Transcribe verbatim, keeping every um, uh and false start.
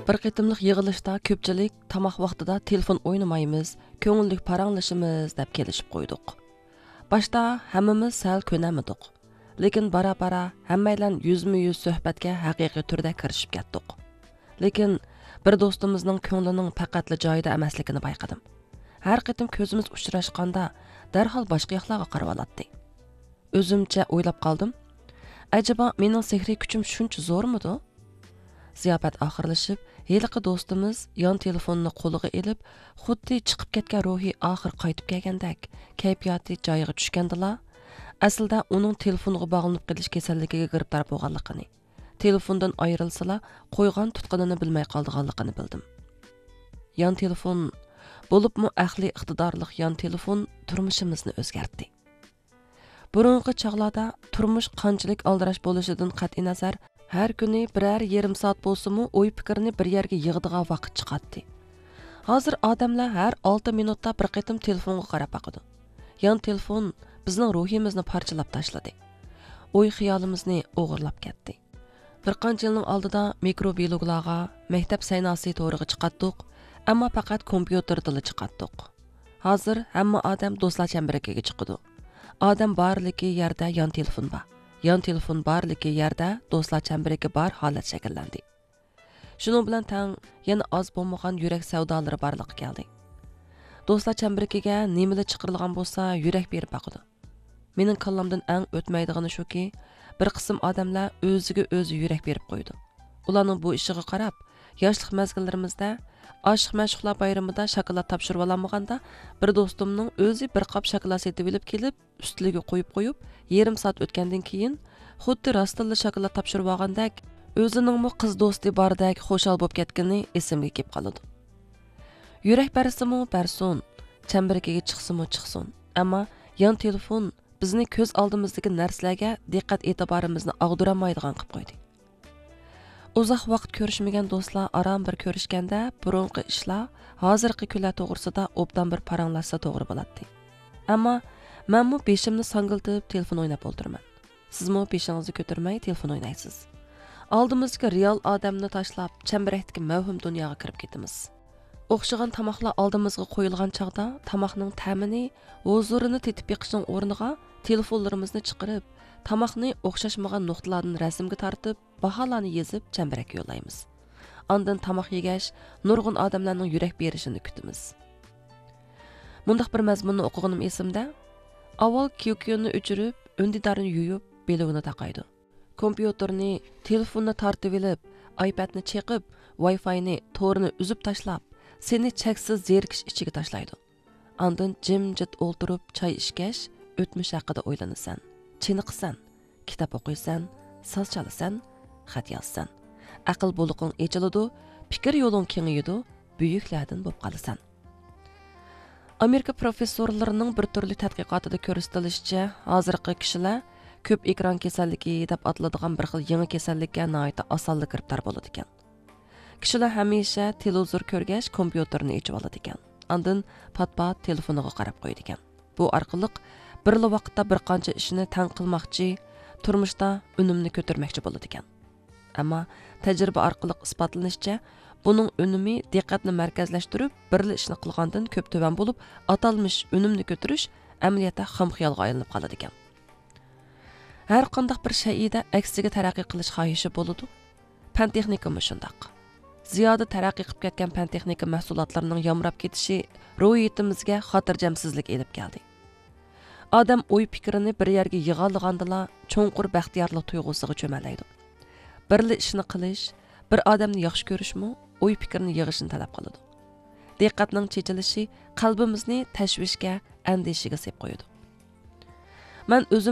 بىر قېتىملىق يىغىلىشتا كۆپچىلىك تاماق ۋاقتىدا تېلېفون ئوينىمايمىز، كۆڭۈللۈك پاراڭلىشىمىز دەپ كېلىشىپ قويدۇق. باشتا ھەممىمىز سەل كۆنەلمىدۇق. لېكىن بارا-بارا ھەممەيلەن يۈزمۇ يۈز سۆھبەتكە ھەقىقىي تۈردە كىرىشىپ كەتتۇق. لېكىن بىر دوستىمىزنىڭ كۆڭلىنىڭ پەقەتلا جايىدا ئەمەسلىكىنى بايقىدىم. ھەر قېتىم كۆزىمىز ئۇچراشقاندا دەرھال باشقا ياقلارغا قارىۋالاتتى. ئۆزۈمچە ئويلاپ قالدىم، ئەجەبا مېنىڭ سېھرىي كۈچۈم شۇنچە زورمىدۇ؟ زىياپەت ئاخىرلىشىپ، ھېلىقى دوستىمىز يان تېلېفوننى قولىغا ئېلىپ، خۇددى چىقىپ كەتكەن روھى ئاخىر قايتىپ كەلگەندەك، كەيپىياتى جايىغا چۈشكەندىلا، ئەسلىدە ئۇنىڭ تېلېفونغا باغلىنىپ قېلىش كېسەللىكىگە گىرىپتار بولغانلىقىنى، تېلېفوندىن ئايرىلسىلا، قويغان تۇتقىنىنى بىلمەي قالىدىغانلىقىنى بىلدىم. يان تېلېفون، بولۇپمۇ ئەقلىي ئىقتىدارلىق يان تېلېفون تۇرمۇشىمىزنى ئۆزگەرتتى. بۇرۇنقى چاغلاردا تۇرمۇش قانچىلىك ئالدىراش بولۇشىدىن قەتئىينەزەر، ھەر كۈنى بىرەر يېرىم سائەت بولسىمۇ ئوي پىكىرنى بىر يەرگە يىغىدىغان ۋاقىت چىقاتتى. ھازىر ئادەملەر ھەر ئالتە مىنۇتتا بىر قېتىم تېلېفونغا قاراپ باقىدۇ. يان تېلېفون بىزنىڭ روھىمىزنى پارچىلاپ تاشلىدى. ئوي خىيالىمىزنى ئوغرىلاپ كەتتى. بىر قانچە يىلنىڭ ئالدىدا مىكرو بىلوگلارغا، مەكتەپ سەيناسى تورىغا چىقاتتۇق، ئەمما پەقەت كومپيۇتېردىلا چىقاتتۇق. ھازىر ھەممە ئادەم دوستلار چەمبىرىكىگە چىقىدۇ. ئادەم بارلىكى يەردە يان تېلېفون بار. يان تېلېفون بارلىكى يەردە دوستلار چەمبىرىكى بار ھالەت شەكىللەندى. شۇنىڭ بىلەن تەڭ يەنە ئاز بولمىغان يۈرەك سەۋدالىرى بارلىققا كەلدى. دوستلار چەمبىرىكىگە نېمىلا چىقىرىلغان بولسا يۈرەك بېرىپ باقىدۇ. مېنىڭ كاللامدىن ئەڭ ئۆتمەيدىغىنى شۇكى، بىر قىسىم ئادەملەر ئۆزىگە ئۆزى يۈرەك بېرىپ قويىدۇ. ئۇلارنىڭ بۇ ئىشىغا قاراپ، ياشلىق مەزگىللىرىمىزدە ئاشىق مەشۇقلار بايرىمىدا شاكىلات تاپشۇرۇۋالالمىغاندا، بىر دوستۇمنىڭ ئۆزى بىر قاپ شاكىلات سېتىۋېلىپ كېلىپ، ئۈستىلىگە قويۇپ قويۇپ، يېرىم سائەت ئۆتكەندىن كېيىن، خۇددى راستتىنلا شاكىلات تاپشۇرۇۋالغاندەك، ئۆزىنىڭمۇ قىز دوستى باردەك خۇشال بولۇپ كەتكىنى ئېسىمگە كېلىپ قالىدۇ. يۈرەك بەرسىمۇ بەرسۇن، چەمبىرىكىگە چىقسىمۇ چىقسۇن، ئەمما يان تېلېفون بىزنى كۆز ئالدىمىزدىكى نەرسىلەرگە دىققەت ئېتىبارىمىزنى ئاغدۇرالمايدىغان قىلىپ قويدى. ئۇزاق ۋاقىت كۆرۈشمىگەن دوستلار ئاران بىر كۆرۈشكەندە، بۇرۇنقى ئىشلار، ھازىرقى كۈنلەر توغرىسىدا ئوبدان بىر پاراڭلاشسا توغرا بولاتتى. ئەمما مەنمۇ بېشىمنى ساڭگىلىتىپ تېلېفون ئويناپ ئولتۇرىمەن. سىزمۇ بېشىڭىزنى كۆتۈرمەي تېلېفون ئوينايسىز. ئالدىمىزدىكى رېئال ئادەمنى تاشلاپ، چەمبىرەكتىكى مەۋھۇم دۇنياغا كىرىپ كېتىمىز. ئوخشىغان تاماقلار ئالدىمىزغا قويۇلغان چاغدا، تاماقنىڭ تەمىنى، ھۇزۇرىنى تېتىپ بېقىشنىڭ ئورنىغا، تېلېفونلىرىمىزنى چىقىرىپ، تاماقنى ئوخشاشمىغان نۇقتىلاردىن رەسىمگە تارتىپ، باھالارنى يېزىپ، چەمبىرەككە يوللايمىز. ئاندىن تاماق يېگەچ، نۇرغۇن ئادەملەرنىڭ يۈرەك بېرىشىنى كۈتىمىز. مۇنداق بىر مەزمۇننى ئوقۇغىنىم ئېسىمدە، ئاۋۋال كيۇكيۇننى ئۆچۈرۈپ، ئۈندىدارنى يۇيۇپ، بىلوگنى تاقايدۇ. كومپيۇتېرنى، تېلېفوننى تارتىۋېلىپ، ئايپەدنى چېقىپ، ۋايفاينى، تورنى ئۈزۈپ تاشلاپ، سېنى چەكسىز زېرىكىش ئىچىگە تاشلايدۇ. ئاندىن جىمجىت ئولتۇرۇپ چاي ئىچكەچ، ئۆتمۈش ھەققىدە ئويلىنىسەن، چېنىقىسەن، كىتاب ئوقۇيسەن، ساز چالىسەن، خەت يازىسەن. ئەقىل بۇلىقىڭ ئېچىلىدۇ، پىكىر يولۇڭ كېڭىيىدۇ، بۈيۈكلەردىن بولۇپ قالىسەن. ئامېرىكا پروفېسسورلىرىنىڭ بىر تۈرلۈك تەتقىقاتىدا كۆرسىتىلىشىچە، ھازىرقى كىشىلەر كۆپ ئېكران كېسەللىكى دەپ ئاتىلىدىغان بىر خىل يېڭى كېسەللىككە ناھايىتى ئاسانلا گىرىپتار بولىدىكەن. كىشىلەر ھەمىشە تېلېۋىزور كۆرگەچ، كومپيۇتېرنى ئېچىۋالىدىكەن. ئاندىن پات-پات تېلېفونىغا قاراپ قويىدىكەن. بۇ ئارقىلىق بىرلا ۋاقىتتا بىر قانچە ئىشنى تەڭ قىلماقچى، تۇرمۇشتا ئۈنۈمنى كۆتۈرمەكچى بولىدىكەن. ئەمما تەجرىبە ئارقىلىق ئىسپاتلىنىشىچە، بۇنىڭ ئۈنۈمى دىققەتنى مەركەزلەشتۈرۈپ، بىرلا ئىشنى قىلغاندىن كۆپ تۆۋەن بولۇپ، ئاتالمىش ئۈنۈمنى كۆتۈرۈش ئەمەلىيەتتە خام خىيالغا ئايلىنىپ قالىدىكەن. ھەر قانداق بىر شەيئىدە ئەكسىگە تەرەققىي قىلىش خاھىشى بولىدۇ. پەن تېخنىكىمۇ شۇنداق. زىيادە تەرەققىي قىلىپ كەتكەن پەن تېخنىكا مەھسۇلاتلىرىنىڭ يامراپ كېتىشى روھىيىتىمىزگە خاتىرجەمسىزلىك ئېلىپ كەلدى. ئادەم ئوي پىكرىنى بىر يەرگە يىغالىغاندىلا، چوڭقۇر بەختىيارلىق تۇيغۇسىغا چۆمەلەيدۇ. بىرلا ئىشنى قىلىش، بىر ئادەمنى ياخشى كۆرۈشمۇ ئوي پىكىرنى يىغىشنى تەلەپ قىلىدۇ. دىققەتنىڭ چېچىلىشى قەلبىمىزنى تەشۋىشكە، ئەندىشىگە سېلىپ قويىدۇ. مەن ئۆزۈم